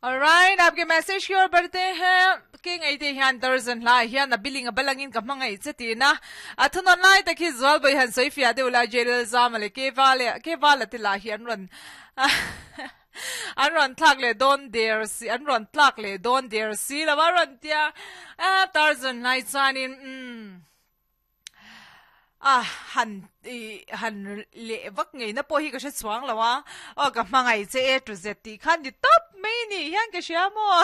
Alright, aapke message ki or बढ़ते हैं ke ngai te hian Tarzan hla hian a billing a balangin ka hmangaih che tina a thunawn lai tak hi zual bawi han sawi fiah deuh la Jailal Zama leh ke val leh ke vala te lah hi an rawn an rawn thlak leh dawn der si an rawn tlak leh dawn der si lo a rawn tia a Tarzan hlai chuanin umm A han ih han leh vak ngei na pawh hi ka hre chhuang lo a, aw ka hmangaih che e tu zet tih khan ni tawp mai ni hian ka hria maw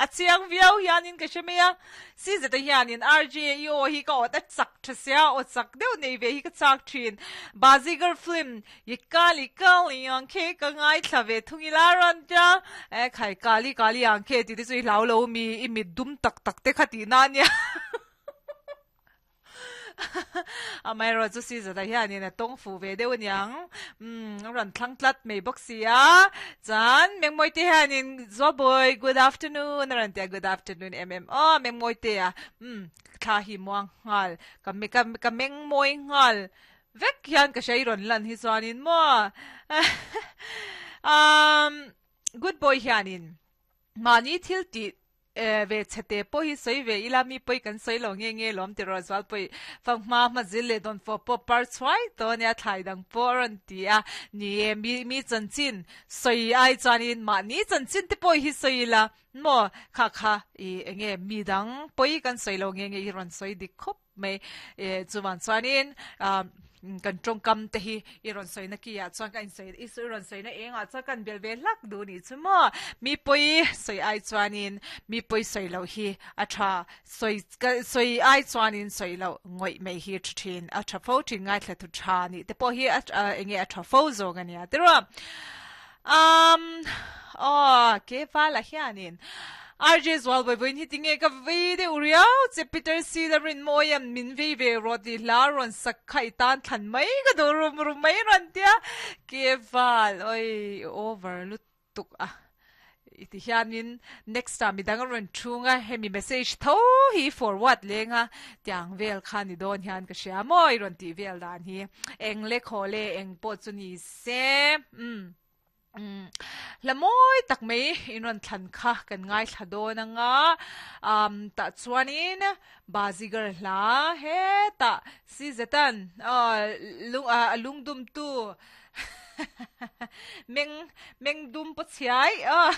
a chiang viau hianin ka hre mai a, si zeta hianin RJ i aw hi ka awt a chak tha sia aw chak deuh nei ve hi ka chak thin Bazigar film i kali kali ang khe ka ngaithla ve thung ila rawn tia e khai kali kali ang khe tih te chu i hlau lo mi i mit dum tak tak te kha tih na ania. Amaherawh chu Caesar-a hianin a tawng fuh ve deuh aniang. Umm, a rawn thlang tlat mai bawk si a. Chuan Mengmawite hianin, Zuabawi, good afternoon a rawn ti a, good afternoon em em aw Mengmawitea. Umm, thla hi muang nghal, ka ka ka mengmawi nghal vek hian ka hria i rawn lan hi chuanin maw. Umm, good boy hianin mahni thil tih E ve chhe te pawh hi sawi ve ila mi pawi kan sawi lo nge nge lawm ti rawh zual pawi fak hma hma zil leh dawn fawh pawh par chhuai tawh ania thlai dang pawh a rawn ti a ni e mi mi chanchin sawi ai chuanin mahni chanchin te pawh hi sawi ila maw kha kha i enge mi dang pawi kan sawi lo nge nge hi rawn sawi dik khawp mai e chuvan chuanin ah kan tawngkam te hi i rawn sawi na ki ah chuan ka insawi i rawn sawi na eng ah chuan kan bel ve hlak duh nih chu maw mi pawi sawi ai chuanin mi pawi sawi loh hi a tha sawi ka sawi ai chuanin sawi loh ngawih mai hi a tha thin a tha fo thin ngaithla thu tha nih te pawh hi a enge a tha fo zawk a nia tiraw Um, aw, ke vala hianin RJ Zual vawivawiin hi tinge ka vei deuh riau che Peter C la rin mawi em min vei ve rawh tih hla rawn sak kha i tan thlan mai ka duh rum rum mai rawn tia ke val oi i over lutuk a i ti hianin next ah midang a rawn thung a hemi message tho hi forward leng a tiang vel kha ni dawn hian ka hria maw i rawn tih vel dan hi eng le khaw le eng pawh chu ni Se, umm, umm, hla mawi tak mai in rawn thlan kha kan ngaithla dawn anga, umm, tah chuanin Bazigar hla hetah si zetan aw lung a lungdumtu meng mengdum paw chhiai aw.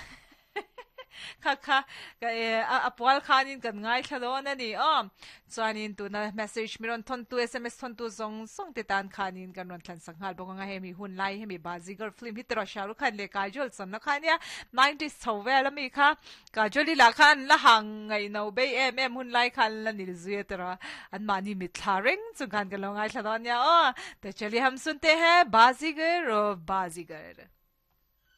Kha kha ka e a pual khanin kan ngaithla dawn a ni aw. Chuanin tuna message mi rawn thawn tu sms thawn tu zawng zawng te tan khanin kan rawn thlan sak nghal bawk anga hemi hun lai hemi Bazigar film hi tiraw Shah Rukh Khan leh Kajol channa kha ania nineties chho vel ami kha Kajol i lah khan la hang ngaihno bei em em hun lai khan la nil zui a tiraw an mahni mitthla reng chung khan kan lo ngaithla dawn ania aw. Te chaliye hum sunte hai Bazigar oh Bazigar.